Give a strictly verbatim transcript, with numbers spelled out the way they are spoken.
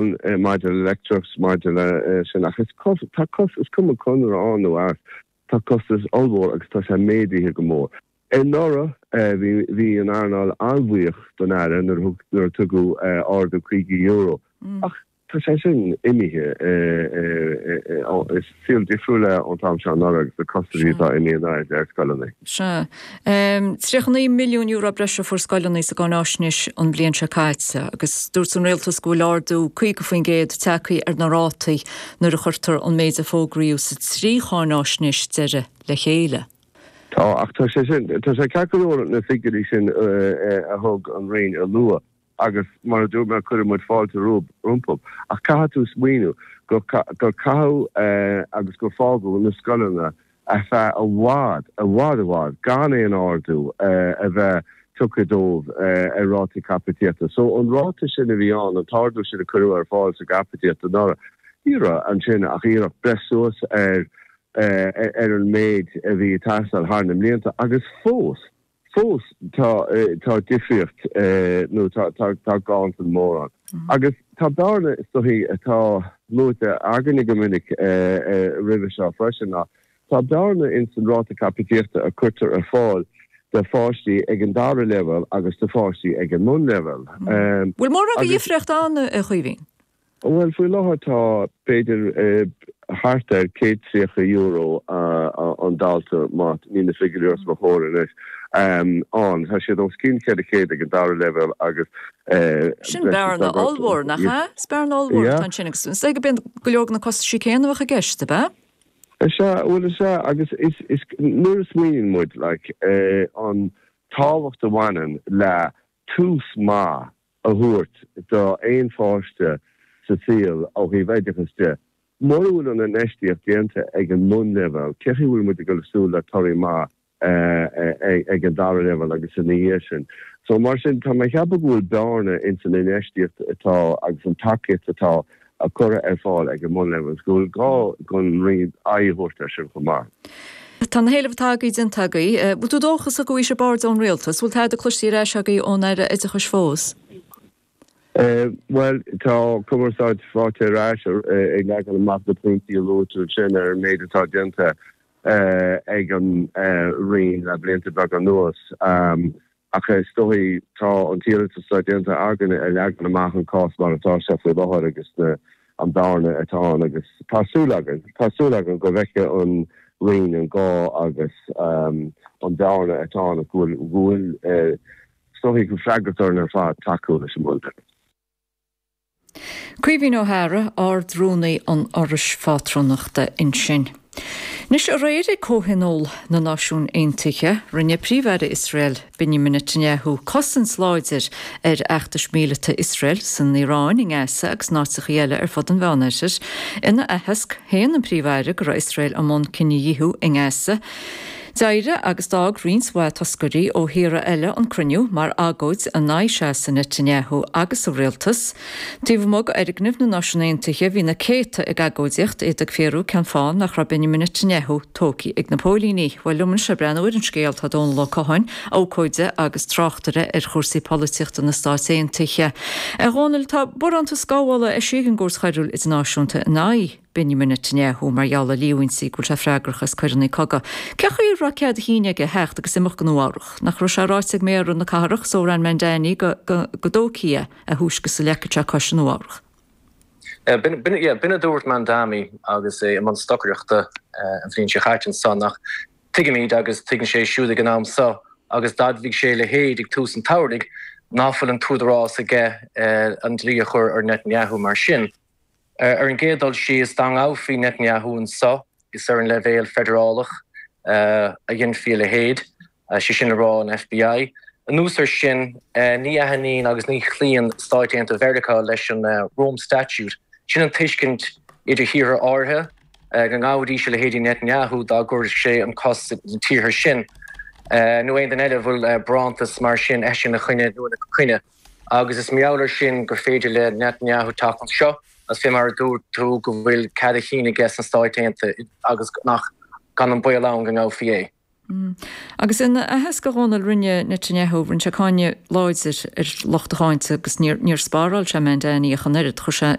ann maidir le leictreachas, maidir le sin, ach is tá cos is cuma conradh ann nó as, tá costas ollmhór agus tá sé méadaithe go mór. Anuraidh bhí bhí an earnáil an-bhuíoch don Aire nuair thug nuair a tugadh ardú caoga euro. Ach tá sé sin imithe, is saol difriúil é ón t-am seo anuraidh agus na costaisí atá imithe in airde ar scoileanna. Sea. Tríocha naoi milliún euro breise a fuair scoileanna sa gcáináisnéis an bhliain seo caite agus dúirt an rialtas go bhfuil ardú caoga faoin gcéad tagtha ar na rátaí nuair a chuirtear an méid a fógraíodh sa trí cháináisnéis deiridh le chéile. Tá, ach tá sé sin, tá sé ceart go leor na figiúirí sin a thug an Roinn a lua agus mar a dúirt mé cuireann muid fáilte rompu ach caithfidh tú smaoineamh gur gur caitheadh agus gur fágadh na scoileanna ar feadh i bhfad, i bhfad, i bhfad gan aon ardú a bheith tugtha dóibh ar rátaí caipitíochta. So an ráta sin a bhí ann, an t-ardú sin a cuireadh ar fáil sa gcaipítíocht anuraidh, ní raibh ansin ach iarracht breith suas ar ar an méid a bhí ag teastáil thar na mblianta agus fós, fós tá tá difríocht nó tá tá tá ganntan mór ann. Agus tá bearna is dóichí atá luaite againne go minic roimhe seo freisin ná tá bearna ins an ráta caipitíochta a cuirtear ar fáil do pháistí ag an dara leibhéal agus do pháistí ag an mbunleibhéal. Bhfuil mórán de dhifríocht ann, a Chaoimhín? Bhuel, faoi láthair tá b'fhéidir thart ar céad tríocha euro an dalta, má níl na figiúirí os mo chomhair anois, ann. Tá siad os cionn ceithre chéad ag an dara leibhéal agus Sin bearna ollmhór, nach ea? Is bearna ollmhór atá ansin agus is dóigh go mbíonn go leor de na costaisí céanna a bheadh i gceist, ab ea? Is ea, bhuel is ea agus is, is, nuair a smaoiníonn muid like an tábhacht a bhaineann le tús maith a thabhairt do aon pháiste sa saol ó thaobh oideachais de. Mura bhfuil an infheistíocht déanta ag an mbunleibhéal, cé chaoi a bhfuil muid ag dul ag súil le torthaí maith ag an dara leibhéal agus ina dhiaidh sin? So mar sin, tá mé ag ceapadh go bhfuil bearna ins an infheistíocht atá agus an tacaíocht atá curtha ar fáil ag an mbunleibhéal agus go bhfuil gá don Roinn aghaidh a thabhairt air sin chomh maith. Tá na héilimh atá agaibh déanta agaibh. Bhfuil tú dóchasach go bhfaighidh sibh aird ón Rialtas? Bhfuil tada cloiste ar ais agaibh ón Aire Oideachais fós? Bhuel, tá cumarsáid faighte ar ais ag leagan amach na pointí a luaigh tú ansin ar an méid atá déanta ag an Roinn le blianta beaga anuas. Ach is dóigh tá an t-iarratas atá déanta againne ag leagan amach an cás mar atá sé faoi láthair agus na an bhearna atá ann agus tá súil againn, tá súil againn go bhfeicfidh an Roinn an gá agus an bhearna atá ann go bhfuil, go bhfuil is dóigh go freagracht orainn ar fad tacú leis an mbunleibhéal. Caoimhín Ó hEadhra, Ard-Rúnaí an Fhorais Phátrúnachta ansin. Anois, aréir ag Comhthionól na Náisiún Aontaithe, rinne Príomh-Aire Iosrael, Benjamin Netanyahu, cosaint láidir ar fheachtais mhíleata Iosrael san Iaráin, i nGaza agus in áiteacha eile ar fud an Mheánoirthir. Ina aitheasc, shéan an Príomh-Aire go raibh Iosrael i mbun cinedhíothú i nGaza. D'éirigh agus d'fhág roinnt mhaith toscairí ó thíortha eile an cruinniú mar agóid in aghaidh seasamh Netanyahu agus a rialtas. Taobh amuigh d'fhoirgneamh na Náisiún Aontaithe bhí na céadta ag agóidíocht, iad ag fiafraí cén fáth nach raibh Benjamin Netanyahu tógtha ag na póilíní. Bhuel, liom anois le breathnú ar an scéal tá Dónal Ó Catháin, abhcóide agus tráchtaire ar chúrsaí polaitíochta na Stát Aontaithe. A Dhónaill, tá barántas gabhála eisithe ag an gCúirt Choiriúil Idirnáisiúnta in aghaidh. Benjamin Netanyahu mar gheall ar líomhaintí go bhfuil sé freagrach as coireanna cogaidh. Cé chaoi a raibh cead a chinn aige theacht agus imeacht go Nua Eabhrac? Nach raibh sé ráite ag méara na cathrach, Zohran Mamdani, go dtógfaí é a thúisce is a leagfadh sé cos i Nua Eabhrac? B'in a dúirt Mamdani agus é i mbun stocaireachta an bhliain seo chaite ansan ach tuigimid agus tuigeann sé siúd ag an am seo agus d'admhaigh sé a leithéid ag tús an tsamhraidh ná fuil an t-údarás aige an dlí a chur ar Netanyahu mar sin. Ar an gcéad dul síos, dá ngabhfaí Netanyahu anso, is ar an leibhéal feidearálach a dhéanfaí a leithéid, sé sin le rá an FBI. Anuas air sin, ní aithníonn agus ní chloíonn Stáit Aontaithe Mheiriceá leis an Rome Statute. Sin an tuiscint idir thíortha áirithe go ngabhfaidís a leithéidí Netanyahu dá gcuirfeadh sé an cos sna tíortha sin, nó aon duine eile a bhfuil barántas mar sin eisithe ina choinne nó ina coinne. Agus is mar gheall air sin gur féidir le Netanyahu teacht anseo agus fé mar a dúirt tú go bhfuil cead a chinn aige sna Stáit Aontaithe agus nach gan an baol ann go ngabhfaí é. Agus ina aitheasc a Dhónaill rinne Netanyahu, rinne sé cáineadh láidir ar lucht a cháinte agus níor níor spáráil sé Mamdani ach an oiread. Chuir sé